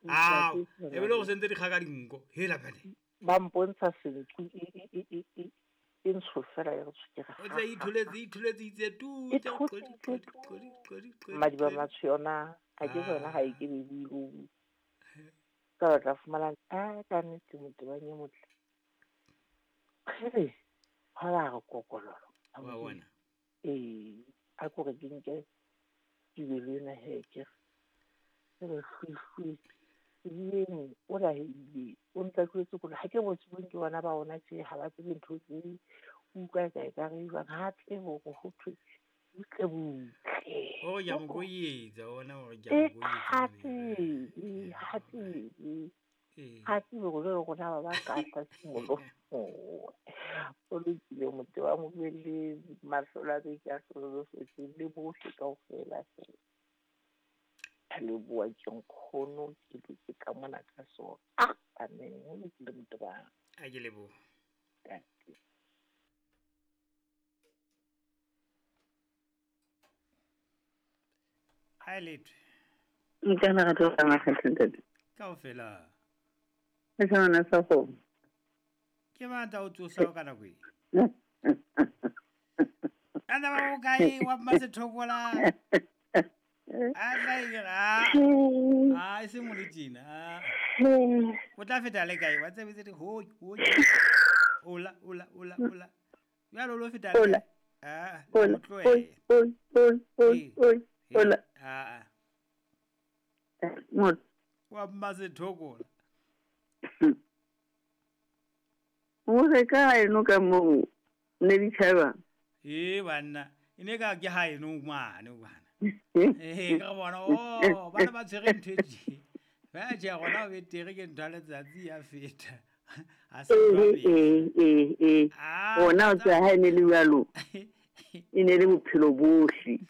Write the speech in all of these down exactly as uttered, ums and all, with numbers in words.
Ah, e be le go sentse dikgaka dinko hela bane ba mpontsha senku e e e e e ntsho fela ya go tshukega o tla itholetse itholetse itse tu madiba matsho yona a ke yona ga e ke be buile ka ba tla fumana a ka nnete motebang e motle kgere ga ba re kokololo wa bona ee a ko re ke nke tubelo ena he ke re hlwi hlwi o la hele o ntla tlwetse kore ha ke botse bong ke bona ba ona tje ha ba tsebe ntho tse utlwa ka e ka re jwang ha tsebe hore ho thwe butle butle o ya mo koyetsa ona hore ke ya mo koyetsa ha tsebe ha tsebe ha tsebe hore jwale rona ba ba ka tla simolo o lokile motho wa mobele mahlola a beke a hlolofetse le bohle kaofela fela a leboha ke nkgono ke dutse ka mona ka sona ah amen o lokile motho ba a ke leboha ha lethwe nkana ga tlo tsamaya hantle ntate kaofela e sa sa go ke batla o tsosa ka nako e ana ba o kae wa Mmasethokola a tla e a a e se mo le tjena o tla feta le kae wa tsebetse di ho ho ola ola ola ola jalo lo feta le a o tloe oi oi oi oi ola a a mo wa Mmasethokola o re ka eno ka mo ne di tshaba e banna e ne ka ke ha eno ngwane bana eh ka bona o bana ba tshwere ntho e tje ba tje gona o betere ke ntho ya letsatsi ya feta a se eh eh eh ona o tsa ha ene le jwalo e ne le bophelo bohle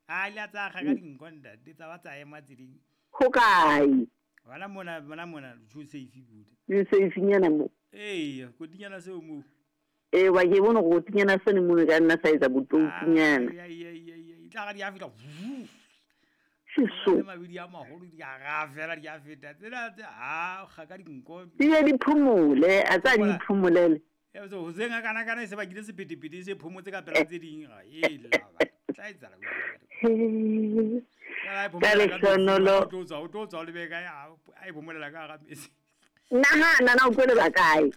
a ile tsa ga ka dinko ntate tsa ba tsa ema tseding ho kae wala mona mona mona ju safe buda ju safe nyana mo eh kotinyana seo mo eh wa ke bona go tinyana sene mo ka nna sa etsa botounyana ya ya ya ya itla ga di a feta seso le mabidi a maholo di a ga fela di a feta tsela a ga ka dinko di di phumule a tsa di phumulele e so ho senga kana kana se bakile sepetepete se phumotse ka pela tse ding ga e la ba tla etsa la ka lehlohonolo o tlo tswa o tlo tswa o lebe kae a e phomolela ka ga metsi nahana na o tlo leba kae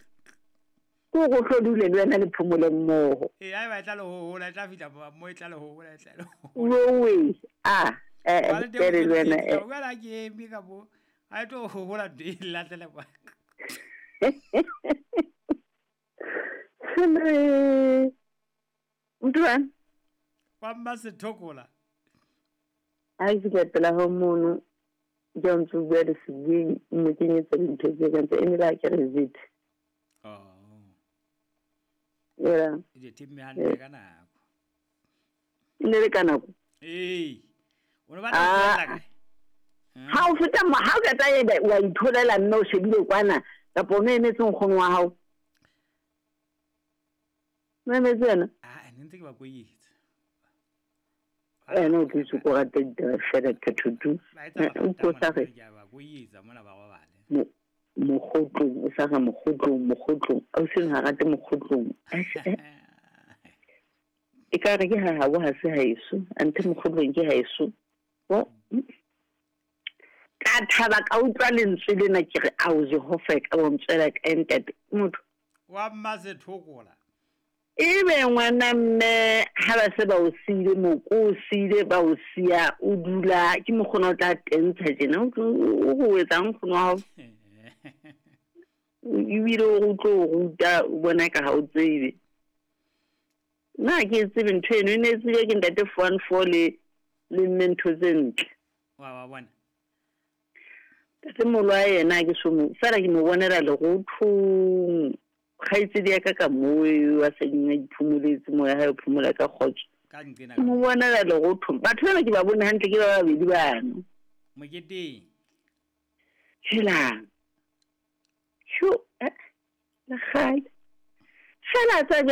ko go tlo dule le wena le phomole mmoho ee a e ba tla le hohola e tla fihla mo e tla le hohola e tla le owe a eh eh le wena eh wena ke eme ka bo a e tlo hohola ntho e latlele kwa Mntwana wa Mmasethokola a ke fihla pela ho mono ke a ntse o bua le sebui mo kenyetsa dintho tse kang tse ene la ke re zit oh yeah e timme hantle ka nako e ne le ka nako ee o ne batla ho feta kae ha o feta mo ha o ka tla wa itholela mme o shebile kwana kapa o emetse nkgono wa hao o emetse yena ah ne ntse ke ba koyetsa ene o tlise ko rata ditaba fela thathutu o ko sa re ba koyetsa mona ba robale mokgotlong o sa ga mokgotlong mokgotlong o seng ha rate mokgotlong e ka re ke ha habo ha se haeso anthe mokgotlong ke haeso o ka thaba ka utlwa lentswe lena ke re ao Jehova ka bo ntswela ka ntate motho wa Mmasethokola ebe ngwana mme ha ba se ba o siile moko o siile ba o siya o dula ke mokgona o tla tentsha tjena o go etsang nkgono wa hao ebile o tlo o ruta o bona ka ha o tsebe nna ke tsebe ntho eno e ne e tsebe ke ntate four one four le le mme ntho tse ntle wa wa bona tate molo a yena ke so mo fela ke mo bonela lerothong kgaitsedi ya ka ka moo a seng a iphumoletse moya hae o phomola ka kgotso ka nqena ke mo bonela lerothong batho bana ke ba bone hantle ke ba babedi bano moketeng helang sho eh le kgale fela tsa